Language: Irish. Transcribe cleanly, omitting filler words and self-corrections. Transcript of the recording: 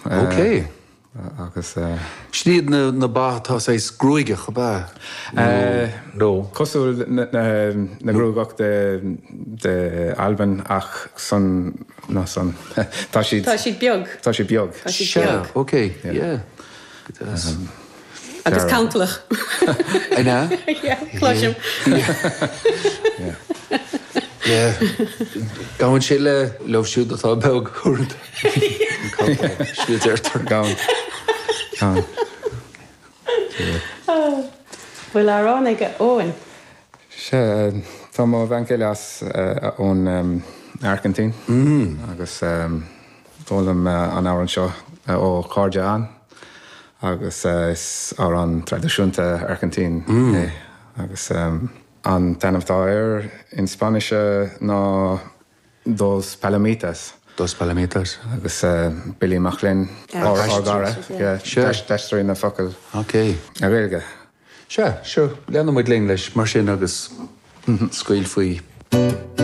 Ok. Agus. Sin iad na ba atá saghas gruagach, ab ea? Nó. Cosúil na gruagach de Albain ach san, ná san, tá siad. Tá siad beag. Tá siad beag. Tá siad beag. Sea, ok, yeah. Go deas. Agus cantalach. An ea? Yeah, cloisim. Yeah. Yeah. Gabhann sé le leo siúd atá beag uaireanta. Sin a deirtear. Gabhann. Gabhann. Bhfuil amhrán ag Eoin? Sea, tá mo bhean chéile as ón Airgintín agus d'fhoghlaim an amhrán seo ó chairde ann agus is amhrán traidisiúnta Airgintín é agus an t-ainm atá air in Spáinnis ná Dos Palomitas. Dos Palomitas. Agus Billy Mac Gloinn, ár gcara, d'aistrigh na focail Ok. go Gaeilge. Sea, seo, leanfaidh muid linn leis mar sin agus scaoil faoi.